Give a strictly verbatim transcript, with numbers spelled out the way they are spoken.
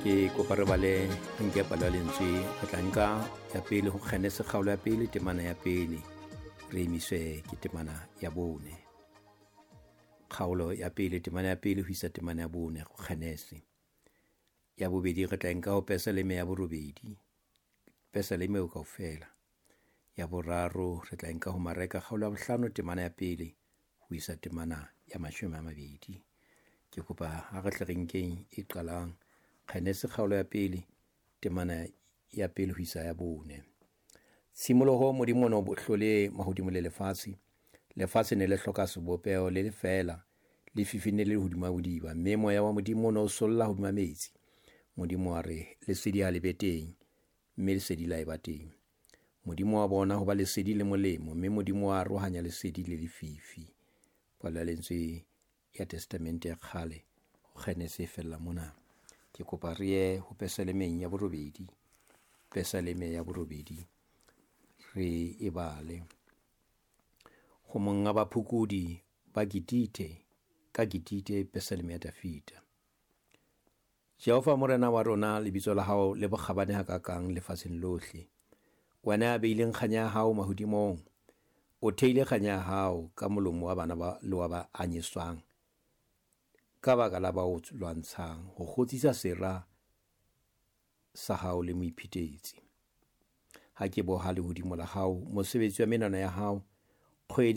Ke kopa re bale re nke palo ya lentswe, re tla nka ya pele ho Kgenese kgaolo ya pele temana ya pele, re emiswe ke temana ya bone. Kgaolo ya pele temana ya pele ho isa temana ya bone ho Kgenese. Ya bobedi re tla nka ho Pesaleme ya borobedi, Pesaleme eo kaofela. Ya boraro re tla nka ho Mareka kgaolo ya bohlano temana ya pele ho isa temana ya mashome a mabedi. Ke kopa ha re tle re nkeng e qalang Kgenese kgaolo ya pele temana ya pele ho isa ya bone. Tshimoloho Modimo o ne o hlole mahodimo le lefatshe. Lefatshe ne le hloka sebopeho le lefeela, lefifi ne le le hodima bodiba, mme moya wa Modimo o ne o solla hodima metsi. Modimo wa re, lesedi ha le be teng, mme lesedi la eba teng. Modimo wa bona hoba lesedi le molemo, mme Modimo wa arohanya lesedi le lefifi. Palo ya lentswe ya Testamente ya kgale ho Kgenese e fella mona. Ke kopa re ye ho Pesalemeng ya borobedi, Pesaleme ya borobedi re e bale. Ho monga baphokodi ba Gitite, ka Gitite, Pesaleme ya Dafida. Jehova Morena wa rona, lebitso la hao le bokgabane hakakang lefatsheng lohle. Wena ya beileng kganya ya hao mahodimong, o theile kganya ya hao ka molomo wa bana ba le wa ba anyeswang, ka baka la ba o lwantshang, ho kgotsisa sera sa hao le moiphetetsi. Ha ke boha lehodimo la hao, mosebetsi wa menwana ya hao, kgwedi